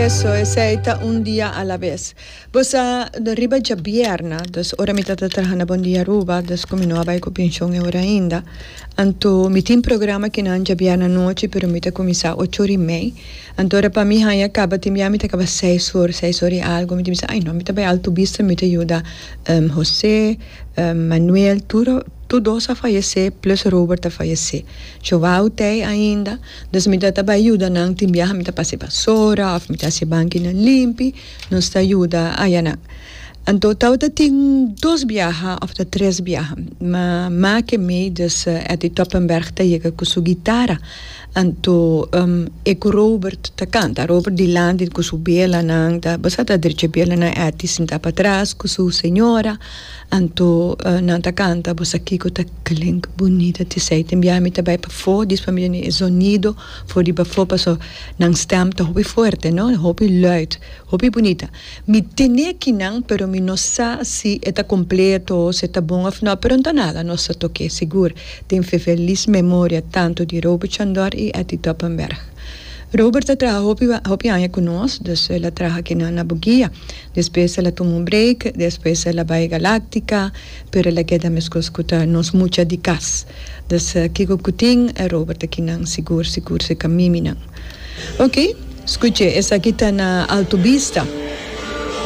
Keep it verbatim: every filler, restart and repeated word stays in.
Eso, esey ta "Un Dia a la Vez". Bo sa, riba djabierna, dus ora mi tata traha na Bon Dia Aruba, dus cu mi no a bay cu pensioen ora ainda. Anto, mi tin programa cu nan djabierna anochi, pero mi ta cuminsa ocho or y mei. Anto, ora pa mi haya caba, tin bia mi ta caba seis or, seis or y algo. Mi ta bisa: "Ay no, mi ta bay Alto Vista, mi ta yuda um, José, um, Manuel, tur, tur dos a fayece, plus Robert a fayece. Joao t'ey ainda, dus mi ta bay yuda nan, tin biaha mi ta pasa basora, of mi ta haci bankinan limpi, nos ta yuda aya nan. Anto tawata tin dos biaha of ta tres biaha. Ma make me, dus uh, Eddie Toppenberg ta yega cu su guitarra. Anto um, e cu Robert ta canta. Robert dilanti cu su belanan, ta basta ta drecha belanan, Eddie sinta patras cu su señora. Anto uh, nan ta canta, bo sa kico ta klink bunita te sei. Tin biaha mi ta bay pafo, dis pa mi e sonido for di pafo, paso nan stem ta hopi fuerte, no? Hopi luid, hopi bunita. Mi tene kinan, pero mi no sa si e ta completo, si ta bon of no, pero no nada, nos ta toca sigur. Den feliz memoria tanto di Robert Chandor y Eddie Toppenberg. Robert a traha hopi, hopi aña cu nos, dus el a traha aki na, na Boguia. Despues el a tuma un break, despues el a bay Galactica, pero el a keda mescos cu nos mucha di cas. Dus uh, kico cu tin, Robert aki nan sigur, sigur, se camiminan. Ok, scucha, esaki ta na Alto Vista.